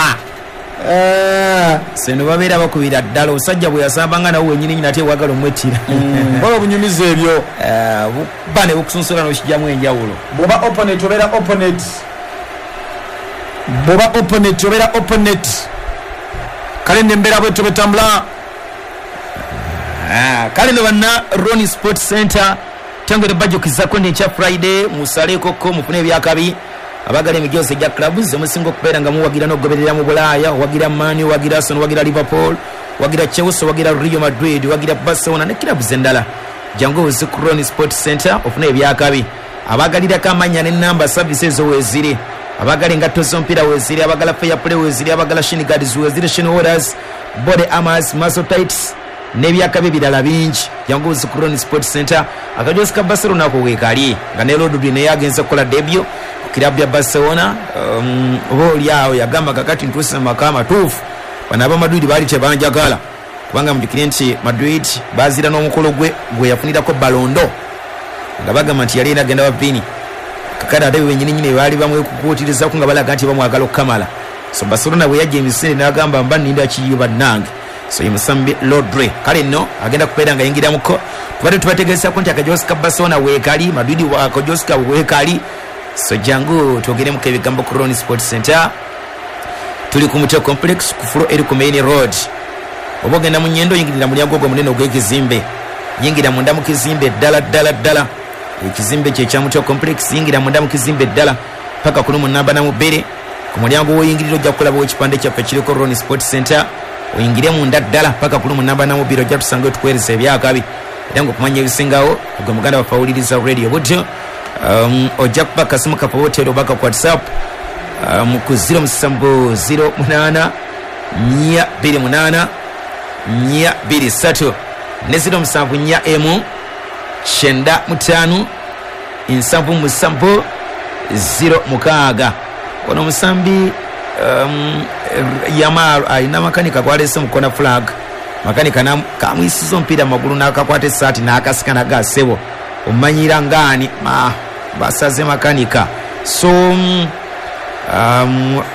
S2: seno babeera bakubira ddala. Osajja bwe yasambanga nawe wenyini nyini ate wagala omwettira
S1: bwaba bunyumiza ebyo
S2: buba ne bukusunsula n'okijjamu enjawulo.
S1: Bw'oba opponent obeera opponent, bw'oba opponent obeera opponent. Kale nembeera bwetyo bwetambula.
S2: Kale no banna Ronnie Sports Center tengere bajjukizako nti ekya Friday musalekoko mufune ebyakabi. Abagala emijoozi egya clubs emusinga okubeera nga muwagira n'okugoberera mu Bulaaya, wagira Man U, wagira Arsenal, wagira Liverpool, wagira Chelsea, wagira Real Madrid, wagira Barcelona ne clubs endala. Jangu ozi ku Ronnie Sports Center ofune ebyakabi. Abagalirako amannya n'ennamba services ezo weeziri, abagala engatto z'omupiira weeziri, abagala fair play weeziri, abagala shin guards weeziri, shin holders, body armors, muscle tights n'ebyakabi ebirala bingi. Jangu ozi ku Ronnie Sports Center. Akajoozi ka Barcelona ako weekali nga ne Rodri naye agenze kukola debut kirabu ya Barcelona. um, oba oli awo yagamba kakati ntuuse mu maka amatuufu, bano aba Madrid baali tebanjagala, kubanga mujjukire nti Madrid baazira n'omukolo gwe gwe yafunirako Ballon d'Or nga bagamba nti yali agenda wa Vini. Kakati ate bennyini nnyini baali bamwekukuutirizaako nga balaga nti bamwagala okukamala. So Barcelona bwe yajja emisinde n'agamba mba nninda kiyo bannange. So ye musambi Rodri kale nno agenda kubeera nga yingiramuko. Tubadde tubategeezaako nti akajoozi ka Barcelona weekali, Madrid akajoozi kaabwe weekali. So jangu twogeremuko ebigambo ku Ronnie Sports Center. Tuli ku Mutwe Complex ku floor eri ku main road. Oba ogenda mu Nyendo oyingirira mulyango ogwo omunene ogw'ekizimbe, yingira munda mu kizimbe ddala ddala ddala. Ekizimbe kye kya Mutwe Complex, yingira munda mu kizimbe ddala paka ku lumu namba na mu bbiri. Ku mulyango w'oyingirira ojja kulabawo ekipande kyaffe kiriko Ronnie Sports Center. Oyingire munda ddala paka ku lumu namba na mu bbiri, ojja tusangayo tukuweereza ebyakabi. Era ng'okumanya ebisingawo gwe muganda waffe awuliriza radio butyo, um, ojja kuba akasimu kaffe hoteri oba ka WhatsApp um, ku ziro musanvu ziro munaana nnya bbiri munaana nnya bbiri ssatu ne ziro musanvu nnya emu kyenda mutaano nsanvu musanvu ziro mukaaga. Ono omusambi um, Yamal alina makanika gwalese mu corner flag. Makanika kamuyisiza omupiira mu magulu n'akakwata essaati n'akasika n'agasebo omanyira ngaani ma basaze makanika. So um,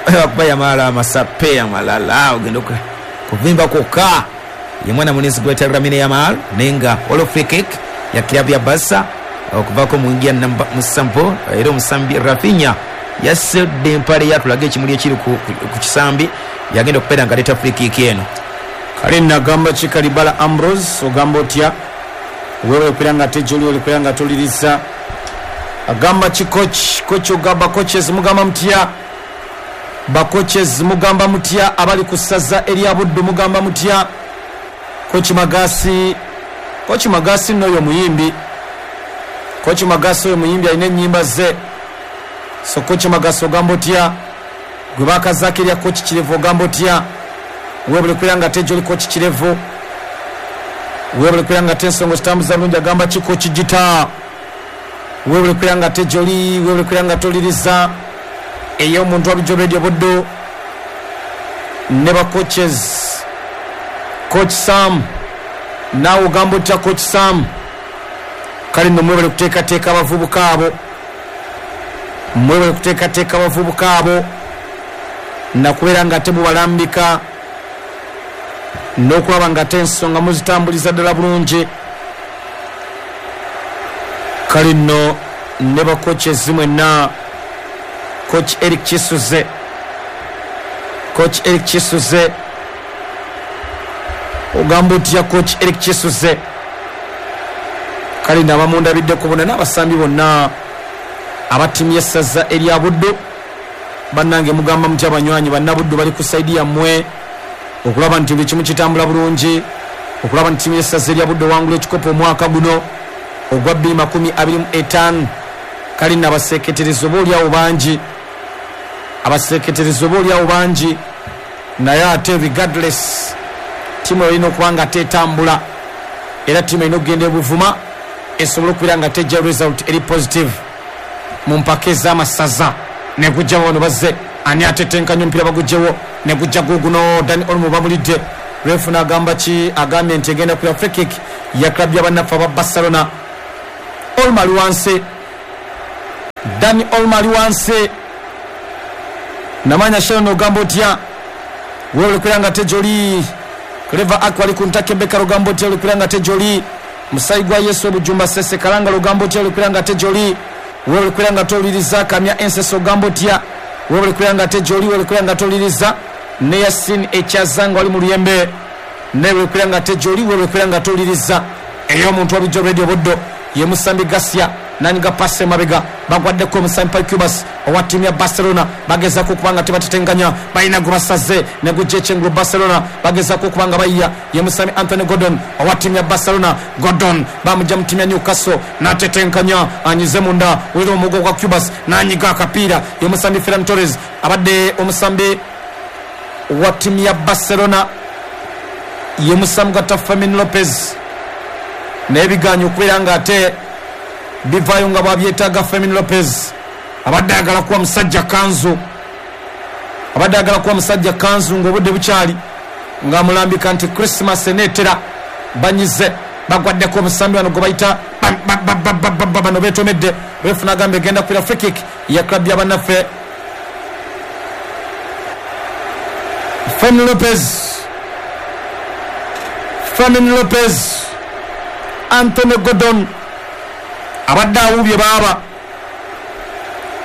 S2: akuba Yamala amasape amalala ogenda kuvimba kwokka. Ye mwana munenzi gweta Lamine Yamal nenga waliwo free kick ya kilabu ya Barca okuvaako mu ngia namba musanvu. Era omusambi Rafinha yasedde empale yatulaga ekimuli ekiri ku, ku, ku kisambi, yagenda okubeera nga aleeta free kick eno.
S1: Kale nagamba ki Kalibala Ambrose, ogamba otya wewe okubeera nga ate gyoli olikubeera nga toliriza. Agamba ki coach, coach ogamba coaches mugamba mutya, ba coaches mugamba mutya abali ku ssaza erya Buddu mugamba mutya. Coach Magasi, Coach Magasi nno oyo muyimbi. Coach Magasi oyo muyimbi alina ennyimba ze. So Coach Magasi ogamba otya, gwe bakazaako erya Coach Kirevu ogamba otya, weebale kubeera nga ate gyoli Coach Kirevu, weebale kubeera nga ate ensonga zitambuza bulungi. Agamba ki Coach Gita, weebale kubeera nga ate gyoli, weebale kubeera nga toliriza ey'omuntu wa Bulijjo Radio Buddu ne ba coaches. Coach Sam naawe ogamba otya Coach Sam? Kale nno mwebale kuteekateeka abavubuka abo, mwebale kuteekateeka abavubuka abo nakubeera nga ate mubalambika n'okulaba nga ate ensonga muzitambuliza ddala bulungi. Kale nno ne ba coaches mwenna, Coach Eric Kisuze, Coach Eric Kisuze ogamba otya Coach Eric Kisuze? Kale nno abamundabiddeko bonna n'abasambi bonna abattiimu y'essaza erya Buddu, bannange mugamba mutya abanywanyi bannabuddu bali ku saidi yammwe okulaba nti buli kimu kitambula bulungi, okulaba nti ttiimu y'essaza erya Buddu ewangula ekikopo omwaka guno ogwa bbiri makumi abiri mu etaano. Kale nno abaseeketereza oba oliawo bangi, abaseeketereza oba oliawo bangi, naye ate regardless ttiimu erina okuba nga tetambula, era ttiimu erina okugenda ebuvuma esobole okubeera nga tejja result eri positive mu mpaka ez'amasaza Negujja wano bazze ani atetenkanya omupiira bagugyewo negujja guguno Dani Olmo bamulidde. Refu n'agamba ki? Agambye nti egenda kuya free kick ya club y'abannaffe aba Barcelona. Olmo ali wansi, Dani Olmo ali wansi. Namanya Sharon ogamba otya? Wewe olikwira nga tejoli. Clever Akwa ali ku ntake Beka ogamba otya? Olikwira nga tejoli. Musayi gwa Yesu Obujumba Sese Kalanga ogamba otya? Olikwira nga tejoli. Wewe olikwira nga toliriza. Kamya Ensese ogamba otya? Wewe olikwira nga tejoli. Wewe olikwira nga toliriza. Ne Yasin Ekyazanga ali mu luyembe. Newe olikwira nga tejoli. Wewe olikwira nga toliriza. Eyo omuntu wabijjo Radio Buddo ye Musambi Garcia naniga pase mabega bagwaddeko omusambi Pau Cubas owa ttiimu ya Barcelona. Bagezaako okuba nga tebatetenkanya, balina gwe basaze ne gujja ekyengulu. Barcelona bagezaako okuba nga bayiya ye musambi Anthony Gordon owa ttiimu ya Barcelona. Gordon bamugja mu ttiimu ya Newcastle n'atetenkanya, anyize munda wera omugo gwa Cubas n'anyiga akapiira ye musambi Ferran Torres abadde omusambi wa ttiimu ya Barcelona ye musambi gwa Fermin Lopez. N'ebiganyo okubeera nga ate bivaayo nga bwabyetaaga. Fermin Lopez abadde ayagala kuwa musajja kanzu, abadde ayagala kuwa musajja kanzu ng'obudde bukyali, ng'amulambika nti Christmas eneetera. Banyize bagwaddeko omusambi wano gwe bayita bano beetomedde. Refu n'agamba egenda kuira free kick ya club y'abannaffe. Fermin Lopez, Fermin Lopez, Anthony Gordon abadde awubye baaba,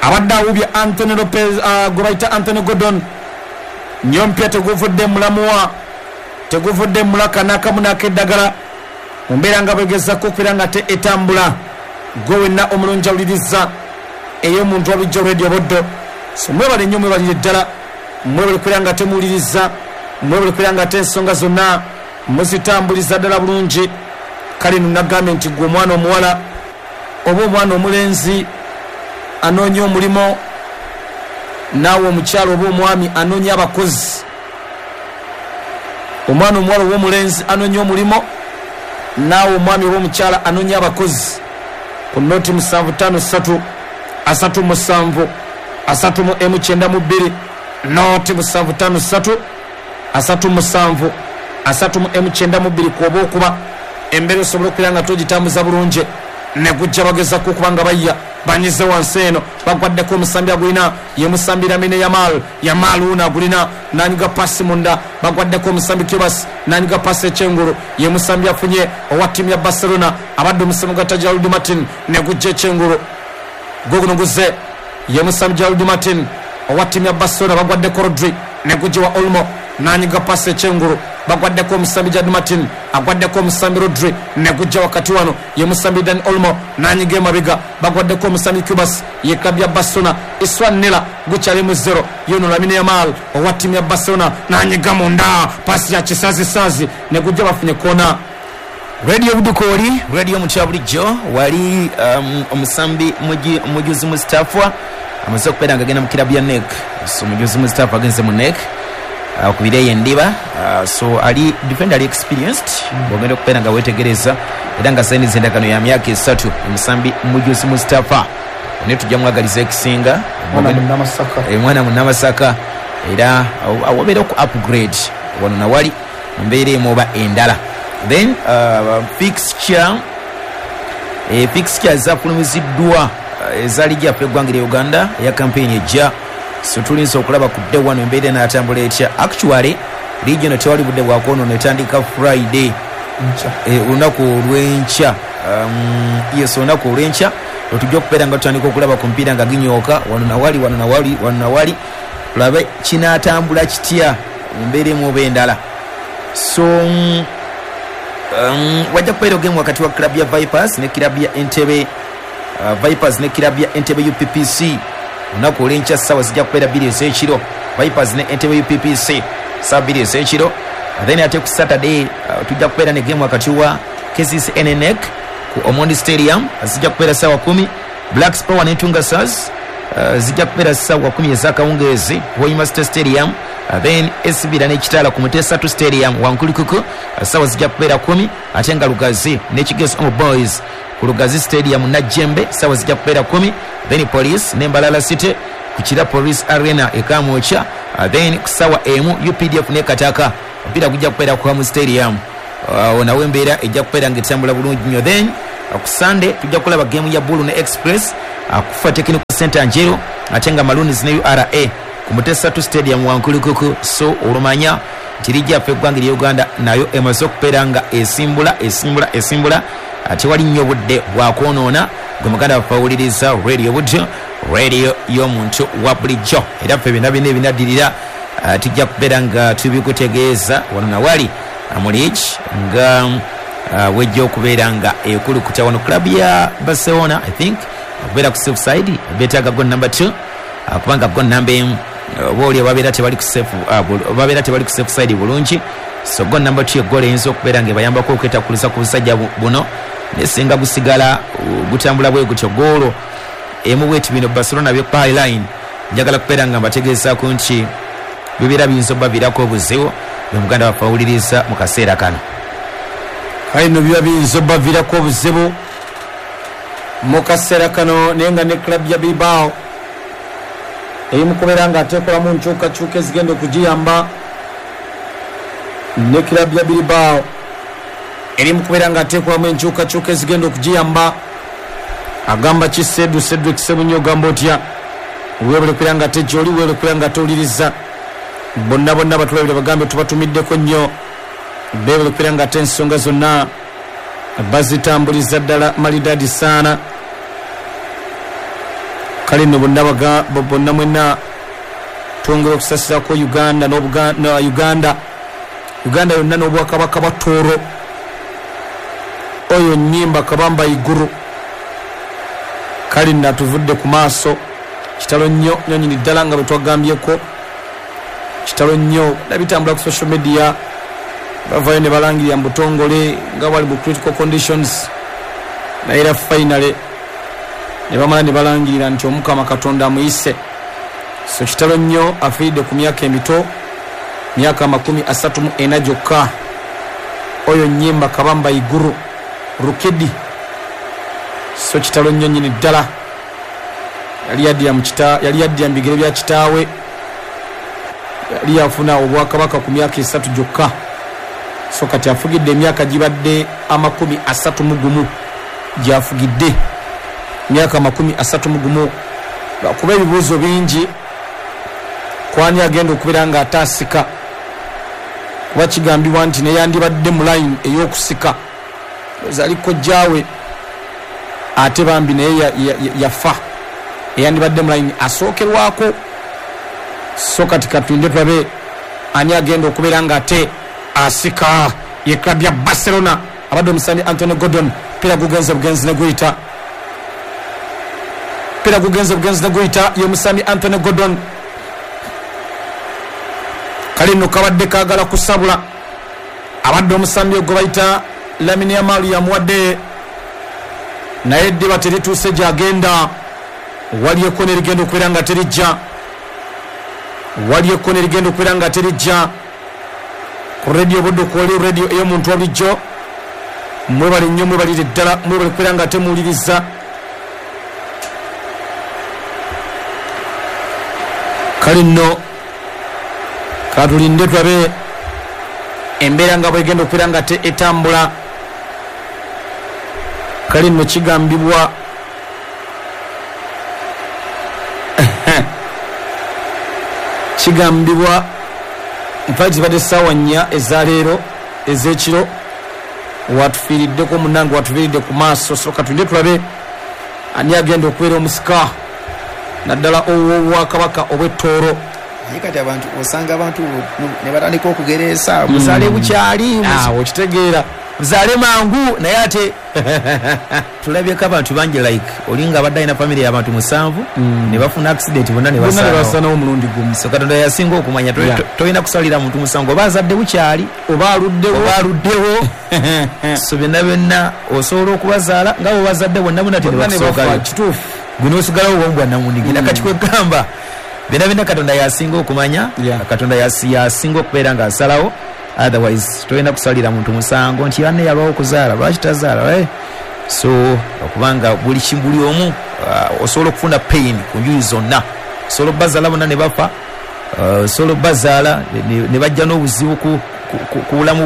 S1: abadde awubye Anthony Lopez uh, gwe bayita Anthony Gordon. Nyompya teguvudde mulamuwa, teguvudde mulaka n'akamu n'akeddagala. Mu mbeera nga bwegezako okubeera nga te etambula. Gwe wenna omulungi awuliriza ey'omuntu wabijjo Radio Buddo. So mwebale nnyo, mwebalire ddala, mwebale kubeera nga temuwuliriza, mwebale kubeera nga te ensonga zonna muzitambuliza ddala bulungi. Kale nno nagambye nti gwe omwana omuwala oba omwana omulenzi anoonya omulimu, naawe omukyalo oba omwami anoonya abakozi. Omwana omuwala oba omulenzi anoonya omulimu, naawe omwami oba omukyala anoonya abakozi. Ku noti musanvu ttaano ssatu asatu musanvu asatu mu emu kyenda mu bbiri, noti musanvu ttaano ssatu asatu musanvu asatu mu emu kyenda mu bbiri kwoba okuba embeera osobola okubeera nga togitambuza bulungi. Negujja bagezako okuba nga bayiya, banyize wansi eno bagwaddeko omusambi agulina ye musambi Lamine Yamal. Yamal wuno agulina nanyiga pasi munda, bagwaddeko omusambi Cubas nanyiga pasi ekyengulu ye musambi afunye owa ttiimu ya Barcelona abadde omusambi gwa Gerald Martin. Negujja ekyengulu guguno guze ye musambi Gerald Martin owa ttiimu ya Barcelona, bagwaddeko Rodri. Negujja wa Olmo nanyiga pasi ekyengulu bagwaddeko omusambi Gerald Martin agwaddeko omusambi Rodri. Negujja wakati wano ye musambi Dani Olmo nanyiga emabega bagwaddeko omusambi Cubas ye club ya Barcelona. Iswanela gukyali mu zero yono Lamine Yamal owa ttiimu ya Barcelona nanyiga munda pasi ya kisazisazi negujja bafunye kona.
S2: Radio Budukori, radio mutya bulijjo wali um, omusambi Mujuzi Mustafa amaze okubeera nga agenda mu kirabu ya N E C. So Mujuzi Mustafa agenze mu N E C okubireyo endiba. uh, so ali defender ali experienced bwogenda okubeera nga weetegereza era nga sayiniza endagaano ya myaka esatu omusambi Mujuzi Mustafa. Naye tujja mwagaliza ekisinga mwana munnamasaka era wabeera oku upgrade wano nawali mu mbeera emu oba endala. Then uh, fixture e, fixture zafulumiziddwa eza liigi yaffe eggwanga lya Uganda eya campaign ejja. So tulinza okulaba ku day one embeera enaatambula etya. Actually liigi eno tewali budde bwakwonoona, etandika Friday olunaku olw'enkya. Um, yes, olunaku olw'enkya otujja okubeera nga tutandika okulaba ku mpiira nga ginyooka wano nawali wano nawali wano nawali, tulabe kinaatambula kitya mu mbeera emu oba endala. So um, wajja kubeera ogemu wakati wa club ya Vipers ne club ya Entebbe, uh, Vipers ne club ya Entebbe U P P C olunaku olw'enkya ssaawa zijja kubeera bbiri ez'ekiro. Vipers ne Entebbe U P P C ssaawa bbiri ez'ekiro. Then ate ku Saturday uh, tujja kubeera ne game wakati wa K C C N N E C ku Omondi Stadium zijja kubeera ssaawa kumi. Black Power ne Tunga Stars uh, zijja kubeera ssaawa kumi ez'akawungeezi Hoima State Stadium. Uh, then S B ne Kitala ku Mutesa two Stadium Wankulikuku uh, ssaawa zijja kubeera kumi. Ate nga Lugazi ne Kigeso Omo Boys ku Lugazi Stadium Najjembe ssaawa zijja kubeera kumi. Then Police ne Mbalala City ku Kira Police Arena e Kamwokya. Uh, then ku ssaawa emu U P D F ne Kataka omupiira gujja kubeera ku Hamu Stadium. Uh, nawe embeera ejja kubeera ng'etambula bulungi nnyo. Then uh, ku Sunday tujja kulaba game ya Bulu ne Express uh, kufa Technical Center Njeru, ate nga Maroons ne U R A ku Mutesa two Stadium Wankulukuku. So olumanya nti liigi yaffe eggwanga erya Uganda nayo emaze okubeera nga esimbula esimbula esimbula, tewali nnyo budde bwakwonoona. Gwe muganda waffe awuliriza Radio Buddo, radio y'omuntu wa bulijjo, era ffe byonna byonna ebinaddirira tujja kubeera nga tubikutegeeza wano nawali mu liigi nga wejja okubeera nga ekulukuta wano. Club ya Barcelona I think okubeera ku safe side beetaaga goal number two, kubanga goal number emu oba oli babeera tebali ku safe, babeera tebali ku safe side bulungi. So goal number two egoal eyinza okubeera nga ebayambako okwetakkuluza ku busajja buno, naye singa gusigala gutambula bwe gutyo goolo emu bweti bino Barcelona byekupa line. Njagala kubeera nga mbategeezaako nti bibeera biyinza obbaviirako obuzibu bwe muganda waffe awuliriza mu kaseera kano.
S1: Kale nno biba biyinza obbaviirako obuzibu mu kaseera kano, naye nga ne club ya Bilbao eri mu kubeera nga ateekolamu nkyukakyuka ezigenda okugiyamba. Ne club ya Bilbao eri mu kubeera nga ateekolamu enkyukakyuka ezigenda okugiyamba. Agamba ki Sedu Cedric Sebunyo, ogamba otya? Weebale kubeera nga ate gy'oli, weebale kubeera nga towuliriza. Bonna bonna batulabira bagambe tubatumiddeko nnyo, beebale kubeera nga ate ensonga zonna bazitambuliza ddala malidadi saana. Kale nno bonna bonna mwenna twongera okusasirako Uganda n'Obuganda, Uganda Uganda yonna n'Obwakabaka bwa Tooro. Oyo nnyimba Kabamba Iguru kale nno atuvudde ku maaso. Kitalo nnyo nnyo nnyini ddala nga bwe twagambyeko, kitalo nnyo nabitambula ku social media, bavayo ne balangirira mu butongole nga bali mu critical conditions, naye era finally ne bamala ne balangirira nti Omukama Katonda amuyise. So kitalo nnyo, afiiridde ku myaka emito, myaka makumi asatu mu ena gyokka. Oyo nnyimba Kabamba Iguru Rukidi. So kitalo nnyo nnyini ddala, yali yaddira mu kita, yali yaddira mu bigere bya kitaawe, yali yafuna obwakabaka ku myaka esatu gyokka. So kati afugidde emyaka gibadde amakumi asatu mu gumu gy'afugidde, myaka amakumi asatu mu gumu. Lwakuba ebibuuzo bingi kwani agenda okubeera nga ataasika, kuba kigambibwa nti neyandibadde mu line ey'okusika zaali kojjaawe, ate bambi naye yafa, eyandibadde mu line asookerwako. So kati katulinde tulabe ani agenda okubeera nga ate asika. Ye club ya Barcelona abadde omusambi Anthony Gordon, pira gugenze bugenzi ne guyita, pira gugenze bugenzi ne guyita ye musambi Anthony Gordon. Kale nno kabadde kaagala kusabula, abadde omusambi ogwo bayita Lamine Yamal yamuwadde, naye eddiba terituuse gy'agenda. Wali ekkona erigenda okubeera nga terijja, wali ekkona erigenda okubeera nga terijja. Ku Radio Buddo kwoli radio ey'omuntu wa bulijjo, mwebale nnyo, mwebalire ddala, mwebale kubeera nga temuwuliriza. Kale nno katulinde tulabe embeera nga bwegenda okubeera nga te etambula. Kale nno kigambibwa kigambibwa nfa zibadde ssaawa nnya ezaleero ez'ekiro, watufiiriddeko munnange, watufiiridde ku maaso. So katulinde tulabe ani agenda okubeera omusika naddala ow'obwakabaka obw'ettooro.
S2: Naye kati abantu osanga abantu ne batandika okugereesa muzaale bukyali,
S1: okitegeera
S2: muzaale mangu, naye ate tulabyeko abantu bangi like olinga abadde alina famire y'abantu musanvu ne bafuna accident bonna ne
S1: basanawo omulundi gumu.
S2: So Katonda yasinga okumanya, tolina kusalira muntu musango oba azadde bukyali
S1: oba aluddewo
S2: oba aluddewo. So byonna byonna osobola okubazaala nga bwe bazadde bonna bonna tebakusookayo,
S1: kituufu
S2: guno osigalawo bwomu bwannamunigina. Kati kwegamba byonna byonna Katonda yasinga okumanya, Katonda yasinga okubeera ng'asalawo. Otherwise tolina kusalira muntu musango nti banne yalwawo okuzaala, lwaki tazaala? Eh? So okubanga buli buli omu uh, osobola okufuna pain ku njuyi zonna. Osobola obazaala bonna ne bafa, osobola obazaala ne bajja n'obuzibu ku bulamu.